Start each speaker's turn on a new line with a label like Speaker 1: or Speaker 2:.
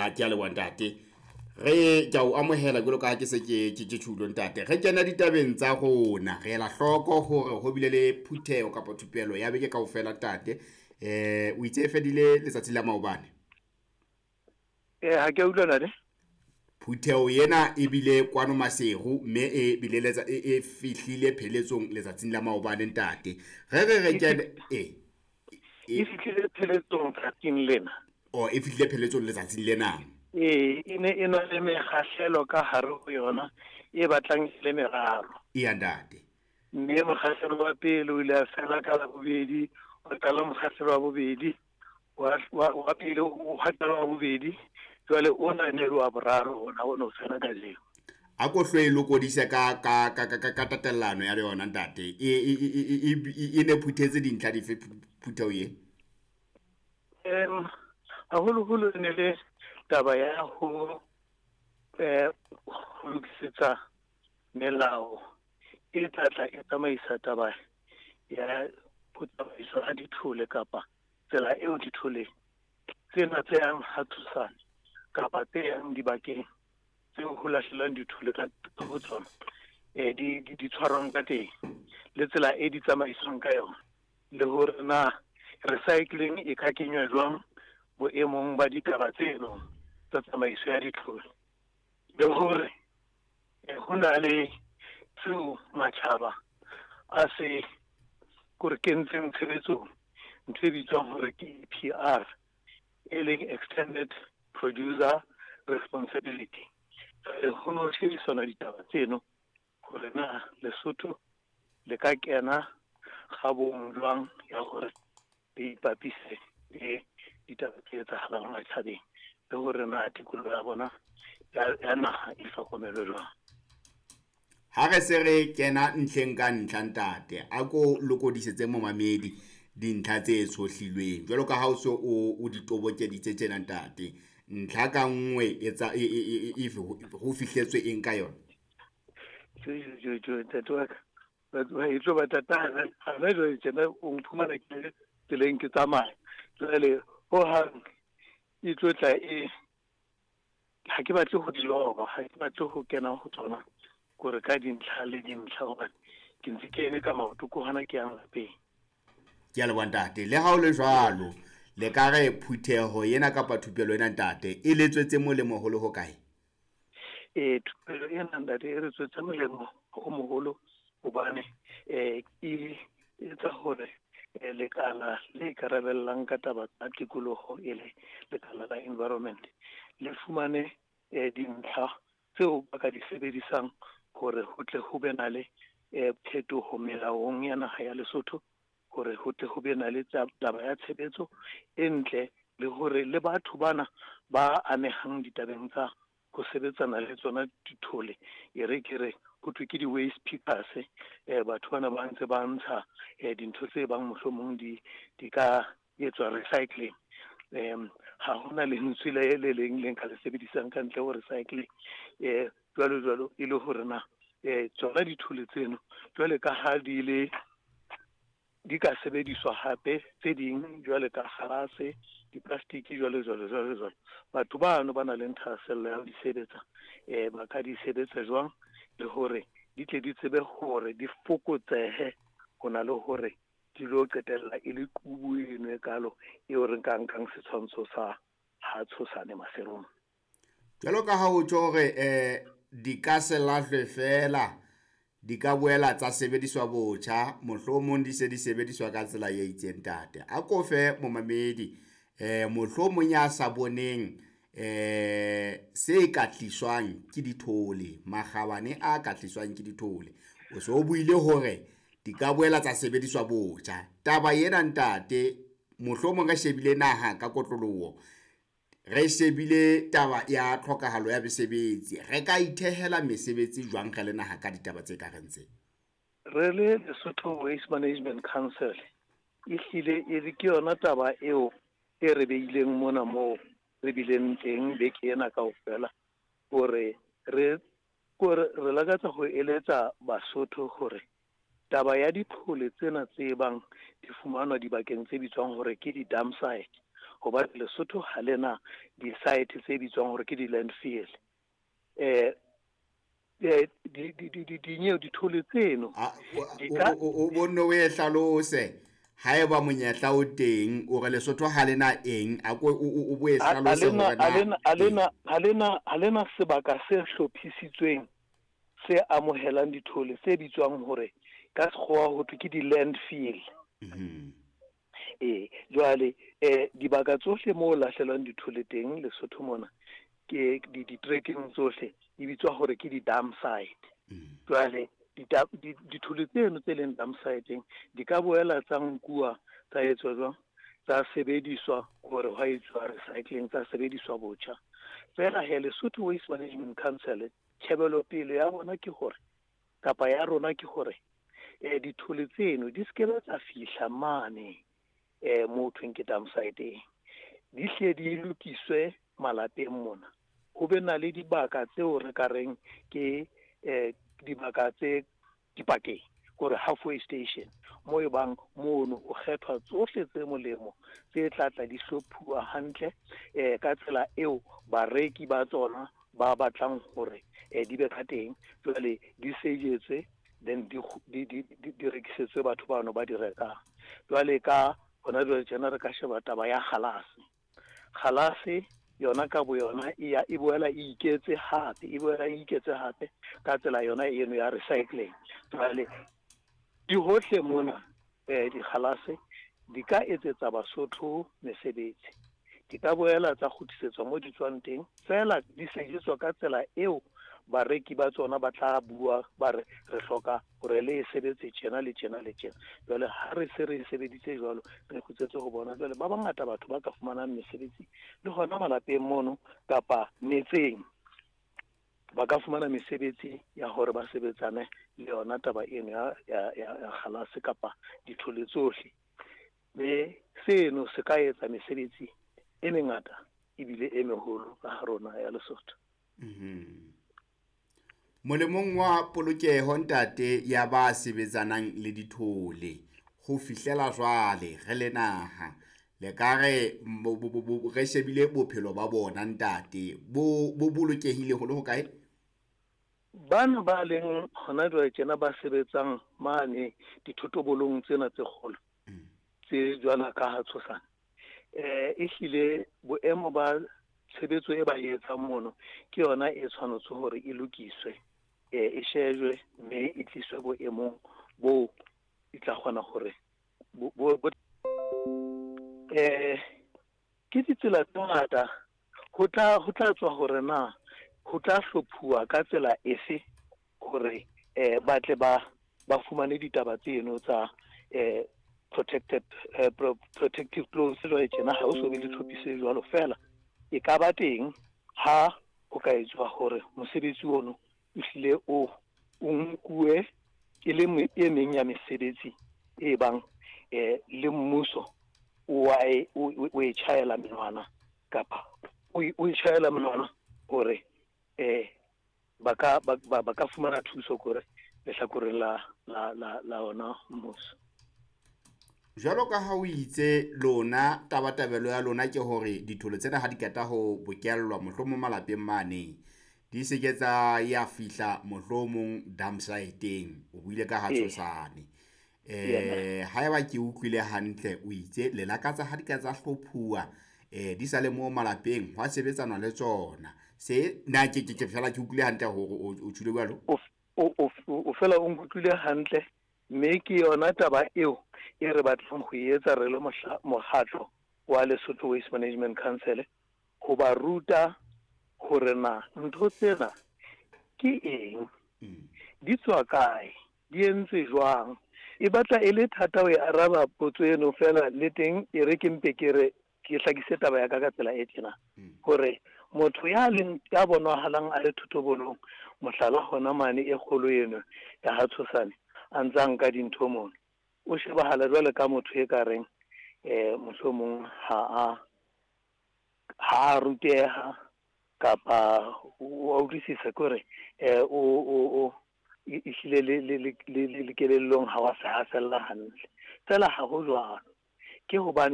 Speaker 1: A ke a leboha ntate. Re ke a o amohela jwalo ka ha ke se ke ke ke tjhulo ntate. Re kena ditabeng tsa rona. Re ela hloko hore ho bile le phutheho kapa thupelo ya beke kaofela ntate. O itse e fedile letsatsi la maobane.
Speaker 2: Ha ke a utlwa ntate.
Speaker 1: Phutheho ena e bile kwano Maseru mme e bile letsa e, e fihlile pheletsong letsatsing la maobane ntate. Re re re kene e
Speaker 2: E fihlile pheletsong tsatsing lena.
Speaker 1: O e fihlile pheletsong letsatsing lena.
Speaker 2: Ee, e ne e na le mekgahlelo ka hare ho yona e batlang e le meraro.
Speaker 1: Eya ntate.
Speaker 2: Mme mokgahlelo wa pele o ile a fela ka Labobedi, wa qala mokgahlelo wa bobedi, wa, wa, wa pele wa qala wa bobedi, jwale ona e ne e le wa boraro ona o ne o fela kajeno.
Speaker 1: A ko hlo e lokodise ka ka ka ka ka tatellano ya yona ntate. E e e e e ne phuthetse dintlha dife phutheho ye?
Speaker 2: Haholoholo e ne le taba ya ho ho lokisetsa melao e tla tla e tsamaisa taba ya ho tsamaiswa ha dithole kapa tsela eo dithole tsena tse yang ha Thusane kapa tse yang dibakeng tseo ho lahlelwang dithole ka ho tsona di di tshwarwang ka teng le tsela e di tsamaiswang ka yona, le hore na recycling e ka kenywa jwang boemong ba ditaba tseno tsa tsamaiso ya dithole, le hore ho na le seo matjhaba a se kore kentseng tshebetsong, ntho e bitswang hore ke EPR, e leng Extended Producer Responsibility. Ho no shebisana ditaba tseno hore na Lesotho le ka kena kgabong jwang ya hore le ipapise le ditaba tse etsahalang matjhabeng, le hore na tikoloho ya bona ya naha e hlokomelwe jwang.
Speaker 1: Ha re se re kena ntlheng ka ntlha ntate, a ko lokodisetse momamedi dintlha tse tshohlilweng jwalo ka ha o se o o di tobokeditse tjena ntate. Ntlha ka nngwe e tsa e e e ho fihletswe eng ka yona?
Speaker 2: Jo jo jo ntate wa ka, e tlo ba thata hana jwale tjena o mphumana ke le tseleng ke tsamaya. Jwale hohang e tlo tla e ha ke batle ho di loba, ha ke batle ho kena ho tsona kore ka dintlha le dintlha hobane ke ntse ke eme ka maoto ko hona ke yang lapeng.
Speaker 1: Ke a leboha ntate. Le ha o le jwalo, le ka re phutheho ena kapa thupelo ena ntate e le tswetse molemo ho le hokae?
Speaker 2: Ee, thupelo ena ntate e re tswetse molemo o moholo hobane e etsa hore lekala le ikarabellang ka taba tsa tikoloho e le lekala la environment le fumane dintlha tseo ba ka di sebedisang hore ho tle ho be na le phetoho melaong ya naha ya Lesotho, hore ho tle ho be na le taba ya tshebetso e ntle, le hore le batho bana ba amehang ditabeng tsa ho sebetsana le tsona dithole, e re ke re ho thwe ke di-waste pickers, batho bana ba ntse ba ntsha dintho tse bang mohlomong di di ka etswa recycling. Ha hona lentswe le le leng le nka le sebedisang ka ntle ho recycling, jwalo jwalo, e le hore na tsona dithole tseno jwale ka ha di le di ka sebediswa hape tse ding jwale ka kgalase, di-plastic jwalo jwalo jwalo jwalo. Batho bano ba nang le thahasello ya ho di sebetsa, ba ka di sebetsa jwang, le hore di tle di tsebe hore di fokotsehe ho na le hore di lo qetella e le qubu eno e kalo eo re nka nkang setshwantsho sa ha Tshosane Maserong.
Speaker 1: Jwalo ka ha o tjho hore di ka se lahlwe fela, di ka boela tsa sebediswa botjha, mohlomong di se di sebediswa ka tsela e itseng ntate. A ko fe momamedi mohlomong ya sa boneng se ka tliswang ke dithole, makgabane a ka tliswang ke dithole. O so o buile hore di ka boela tsa sebediswa botjha. Taba ena ntate, mohlomong re shebile naha ka kotloloho, re shebile taba ya tlhokahalo ya mesebetsi, re ka ithehela mesebetsi jwang re le naha ka ditaba tse ka reng tse?
Speaker 2: Re le Lesotho Waste Management Council e hlile e le ke yona taba eo e re beileng mona moo re bileng teng beke ena kaofela, hore re kore re lakatsa ho eletsa Basotho hore taba ya dithole tsena tse bang di fumanwa dibakeng tse bitswang hore ke di-dump site, Hobane Lesotho ha lena di-site tse bitswang hore ke di-landfill. Dinyewe dithole tseno
Speaker 1: o bonne o e hlalose haeba monyetla o teng o re Lesotho ha lena eng a ko o bo e hlalose hore
Speaker 2: na ha lena sebaka se hlophisitsweng se amohelang dithole tse bitswang hore ka sekgowa ho thwe ke di-landfill. Jwale dibaka tsohle moo lahlelwang dithole teng Lesotho mona ke di-trekking tsohle di bitswa hore ke di-dump site. Jwale dithole tseno tse leng dump site-eng di ka boela tsa nkuwa tsa etswa jwang, tsa sebediswa hore hwa etswa recycling, tsa sebediswa botjha. Feela he Lesotho Waste Management Council tjhebelopele ya bona ke hore kapa ya rona ke hore dithole tseno di se tsa fihla mane moo thweng ke dump site-eng, di hle di lokiswe malapeng mona. Ho be na le dibaka tseo re ka reng ke dibaka tse dipakeng, kore halfway station, mo e bang mono o kgethwa tsohle tse molemo tse tla tla di hlophuwa hantle ka tsela eo bareki ba tsona ba batlang hore di be ka teng. Jwale di sejetswe then di rekisetswe batho bano ba di rekang. Jwale ka hona jwale tjena re ka sheba taba ya kgalase. Kgalase yona ka bo yona e boela e iketse hape, e ka tsela yona eno ya recycling. Jwale di hohle mona dikgalase di ka etsetsa Basotho mesebetsi, di ka boela tsa kgutlisetswa mo di tswang teng, feela di sejetswa ka tsela eo bareki ba tsona ba tla bua ba re re hloka hore le e sebetse tjena le tjena le tjena. Jwale ha re se re e sebeditse jwalo, re kgutletse ho bona. Jwale ba bangata batho ba ka fumanang mesebetsi le hona malapeng mono kapa metseng, ba ka fumana mesebetsi ya hore ba sebetsane le yona taba eno ya kgalase kapa dithole tsohle. Mme seno se ka etsa mesebetsi e mengata ebile e meholo ka ha rona ya Lesotho.
Speaker 1: Molemong wa polokeho ntate ya ba sebetsanang le dithole ho fihlela jwale re le naha le ka re re shebile bophelo ba bona ntate bo bolokehile ho le hokae?
Speaker 2: Bana ba leng hona jwale tjena ba sebetsang mane dithotobolong tsena tse kgolo tse jwalo ka ha Tshosane, ehlile boemo ba tshebetso e ba etsang mono ke yona e tshwanetse hore e lokiswe, e shejwe mme e tliswe boemong bo e tla kgona hore ke ditsela tse ngata ho tla tswa hore na ho tla hlophuwa ka tsela efe hore ba tle ba fumane ditaba tseno tsa protected protective clothes. Jwale tjena ha o so be le tlhophiso e jwalo, feela e ka ba teng ha ho ka etswa hore mosebetsi ono o hlile o nkuwe e le e meng ya mesebetsi e bang le mmuso o e tjhaela menwana kapa o e tjhaela menwana hore ba ka fumana thuso kore lehlakoreng la ona mmuso.
Speaker 1: Jwalo ka ha o itse lona tabatabelo ya lona ke hore dithole tsena ha di qeta ho bokellwa mohlomong malapeng mane di se ke tsa ya fihla mohlomong dump site-eng, o buile ka ha Tshosane. Haeba ke utlwile hantle o itse le lakatsa ha di ka tsa hlophuwa di sa le mo malapeng hwa sebetsana le tsona. Se na ke fela ke utlwile hantle hore o tjhule jwalo?
Speaker 2: O fela o nkutlwile hantle, mme ke yona taba eo e re batlang ho etsa re le mokgatlo wa Lesotho Waste Management Council, ho ba ruta hore na ntho tsena ke eng, di tswa kae, di entswe jwang. E batla e le thata ho e araba potso eno, feela le teng e re ke mpe ke re ke hlakise taba ya ka ka tsela e tjena, hore motho ya leng ya bonahalang a le thotobolong, mohlala hona mane e kgolo eno ya ha Tshosane a ntsa nka dintho mono, o shebahala jwale ka motho e ka reng mohlomong ha a ruteha kapa o utlwisisa kore o ehlile le kelellong ha wa se ha fella hantle. Feela ha ho jwalo, ke hobane